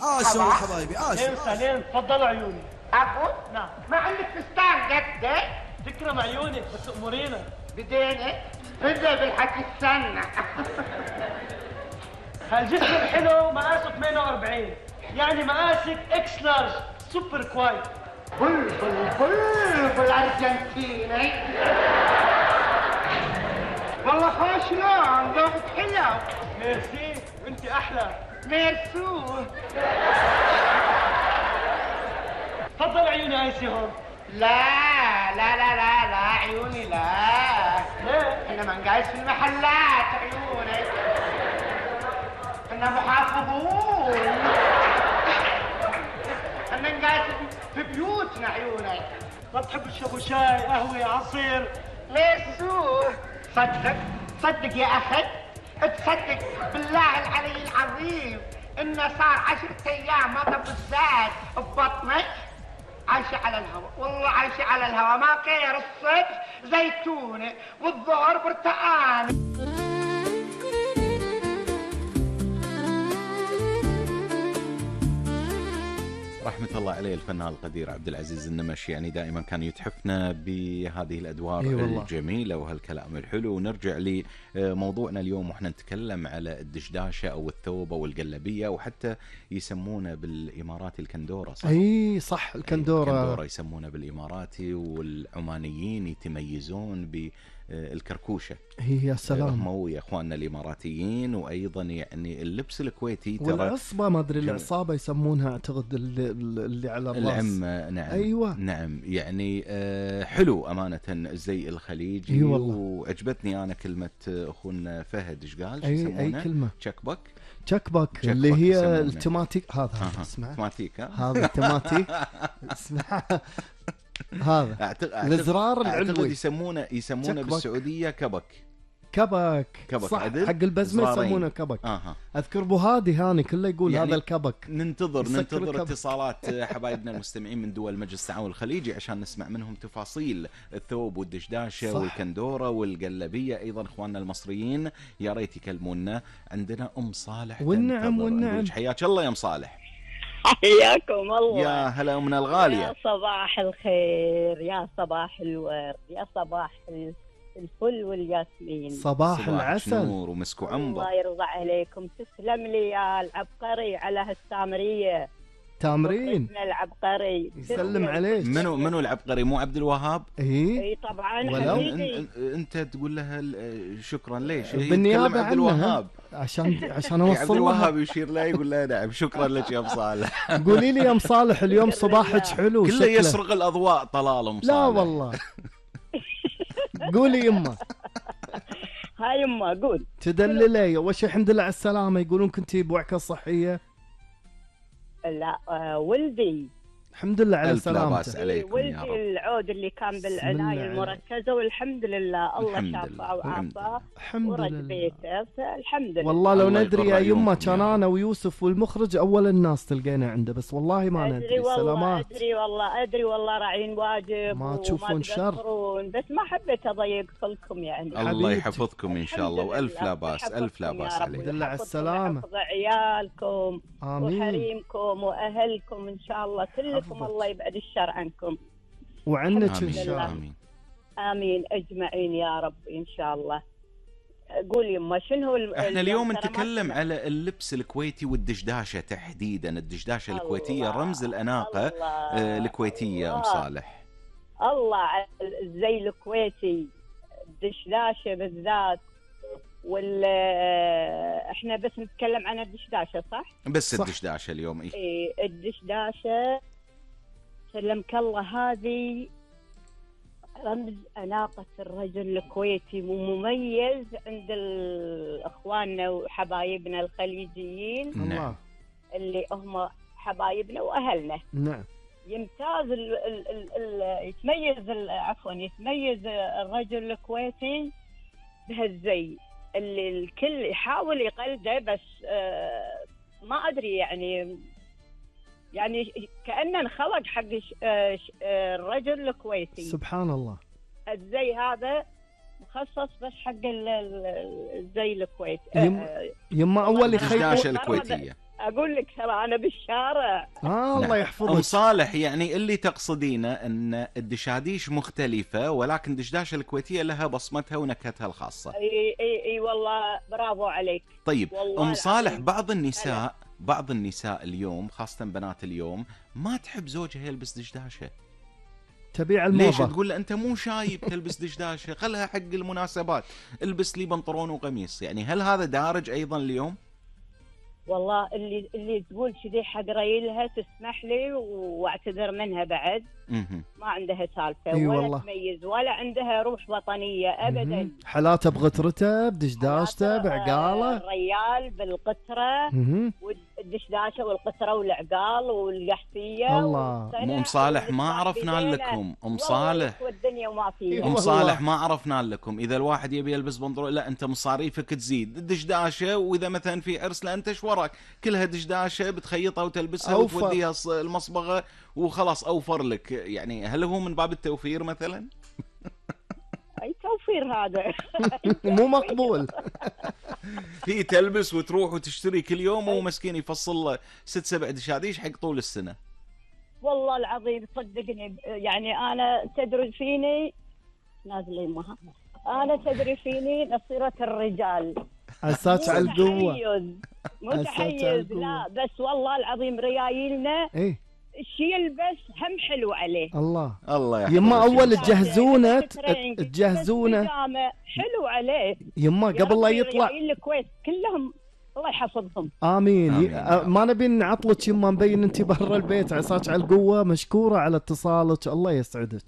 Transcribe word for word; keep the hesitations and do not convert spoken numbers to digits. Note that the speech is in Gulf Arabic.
عاشوا حبايبي عاشوا. لين سالين تفضلوا عيوني. أبو نعم. ما عندك فستان قده؟ تكرم عيونك بس أمورينا. بدينك بدأ بالحكي السنة. هالجسم الحلو مقاسه ثمانية وأربعين، يعني مقاسك اكس لارج سوبر كوايت. بلبل بلبل أرجنتيني. والله خوش لون ذوقك حلو. ميرسي وانت أحلى. ميرسو. تفضل عيوني هايسي هون. لا لا لا لا لا عيوني لا. ليه؟ احنا ما نقايس في المحلات عيوني. احنا محافظون. احنا نقايس في بيوتنا عيوني. ما بتحب تشربوا شاي قهوة عصير؟ ميرسو. صدق صدق يا اخي تصدق بالله العلي العظيم انه صار عشرة ايام ما ضب الزاد ببطنك. عايشة على الهواء والله عايشة على الهواء ما غير الصبح زيتونة والظهر برتقان. رحمة الله عليه الفنان القدير عبد العزيز النمش، يعني دائما كان يتحفنا بهذه الأدوار أي الجميلة وهالكلام الحلو. ونرجع لموضوعنا اليوم وإحنا نتكلم على الدشداشة أو الثوب أو القلبية، وحتى يسمونه بالإماراتي الكندورة، صح؟ أي صح الكندورة. الكندورة يسمونه بالإماراتي، والعمانيين يتميزون ب الكركوشة. هي يا سلام. هم ويا اخواننا الاماراتيين. وايضا يعني اللبس الكويتي ترى والعصبة ما ادري العصابة يسمونها اعتقد اللي, اللي على الراس. العمة. نعم. ايوه نعم يعني آه حلو امانة الزي الخليجي. اي والله. وعجبتني انا كلمة اخونا فهد ايش قال؟ اي اي كلمة تشكبك. تشكبك اللي هي التماتيك. هذا آه اسمع تماتيك. هذا تماتيك. اسمع هذا الازرار العلوي يسمونه يسمونه بالسعوديه كبك. كبك, كبك صح. عدل. حق البزمه يسمونه كبك. آه. اذكر ابو هادي هاني كله يقول يعني هذا الكبك. ننتظر ننتظر اتصالات حبايبنا المستمعين من دول مجلس التعاون الخليجي عشان نسمع منهم تفاصيل الثوب والدشداشه صح. والكندوره والقلبيه. ايضا اخواننا المصريين يا ريت يكلمونا. عندنا ام صالح. والنعم والنعم. حياك الله يا ام صالح. حياكم الله. يا هلا من الغالية. يا صباح الخير، يا صباح الورد، يا صباح الفل والياسمين. صباح, صباح العسل. نور ومسك وعنبر. الله يرضى عليكم. تسلم لي يا العبقري على هالسامرية. تامرين العبقري يسلم عليك. منو منو العبقري؟ مو عبد الوهاب؟ ايه اي طبعا حبيبي. انت تقول لها شكرا ليش؟ بالنيابه عبد الوهاب عشان عشان اوصل. عبد الوهاب يشير له يقول له نعم شكرا لك يا ام صالح. قولي لي يا ام صالح اليوم صباحك حلو. كله يسرق الاضواء طلال ام صالح. لا والله. قولي يمه. هاي يمه قول. تدللي وش الحمد لله على السلامه. يقولون كنتي بوعكه صحيه. لا آه ولدي الحمد لله على سلامته. ولدي العود اللي كان بالعناية المركزة والحمد لله الله شافه وعافاه ورد بيته الحمد لله. والله لو ندري يا يمه كان انا ويوسف والمخرج اول الناس تلقينا عنده بس والله ما ندري. أدري والله سلامات. ادري والله ادري والله راعين واجب ما تشوفون شر بس ما حبيت اضيق لكم يعني. الله يحفظكم ان شاء الله والف لا باس الف لا باس عليك. الحمد لله على السلامه. يحفظ عيالكم آمين. وحريمكم واهلكم ان شاء الله كلكم. الله يبعد الشر عنكم وعنك ان شاء الله. آمين. آمين أجمعين يا رب إن شاء الله. قول يما شنو الم... احنا اليوم نتكلم على اللبس الكويتي والدشداشة تحديدا. الدشداشة الله الكويتية رمز الأناقة الله الكويتية. أم صالح الله على الزي الكويتي الدشداشة بالذات. وال احنا بس نتكلم عن الدشداشة صح؟ بس صح. الدشداشة اليوم ايه, إيه الدشداشة سلمك الله هذه رمز أناقة الرجل الكويتي ومميز عند اخواننا وحبايبنا الخليجيين. نعم. اللي هم حبايبنا واهلنا. نعم. يمتاز ال ال ال ال يتميز عفوا يتميز الرجل الكويتي بهالزي اللي الكل يحاول يقلده بس آه ما ادري يعني يعني كأنه انخلق حق الرجل الكويتي. سبحان الله. الزي هذا مخصص بس حق الزي الكويتي. يم... يما اول الدشداشة الكويتية. اقول لك ترى انا بالشارع. آه الله يحفظك. ام صالح، يعني اللي تقصدينه ان الدشاديش مختلفه، ولكن دشداشه الكويتيه لها بصمتها ونكهتها الخاصه. اي اي اي والله برافو عليك. طيب ام صالح، العظيم. بعض النساء بعض النساء اليوم خاصه بنات اليوم ما تحب زوجها يلبس دشداشه. تبيع الموضة. ليش؟ تقول له انت مو شايب تلبس دشداشه، خلها حق المناسبات، البس لي بنطلون وقميص. يعني هل هذا دارج ايضا اليوم؟ والله اللي اللي تقول كذي حق ريلها تسمح لي واعتذر منها بعد. مهم. ما عندها سالفه إي ولا والله. تميز ولا عندها روح وطنيه ابدا. مهم. حلاته بغترته بدشداشته بعقاله. الريال بالقطره مهم. والدشداشه والقطره والعقال والقحفيه. الله. ام صالح ما عرفنا لكم. ام صالح والدنيا وما فيها. ام صالح ما عرفنا لكم. اذا الواحد يبي يلبس بنطلون، لا انت مصاريفك تزيد. الدشداشه، واذا مثلا في عرس لا انت ايش وراك، كلها دشداشه بتخيطها وتلبسها أوفر. وتوديها المصبغه وخلاص اوفر لك. يعني هل هو من باب التوفير مثلا؟ اي توفير هذا. مو مقبول. هي تلبس وتروح وتشتري كل يوم، ومسكين يفصل له ست سبع دشاديش حق طول السنه. والله العظيم صدقني، يعني انا تدري فيني نازل يمها، انا تدري فيني نصيرة الرجال. عساك على القوة. تحيز مو عساك على تحيز القوة. لا، بس والله العظيم ريايلنا ايه الشي يلبس هم حلو عليه. الله الله يحفظك. يما اول تجهزونه ترينج، تجهزونه بس بيجامة حلو عليه. يما يا قبل لا ربي يطلع. ريايل الكويت كلهم الله يحفظهم. امين, آمين. ي- آه، ما نبي نعطلك يما، مبين انت برا البيت. عساك على القوة، مشكورة على اتصالك، الله يسعدك.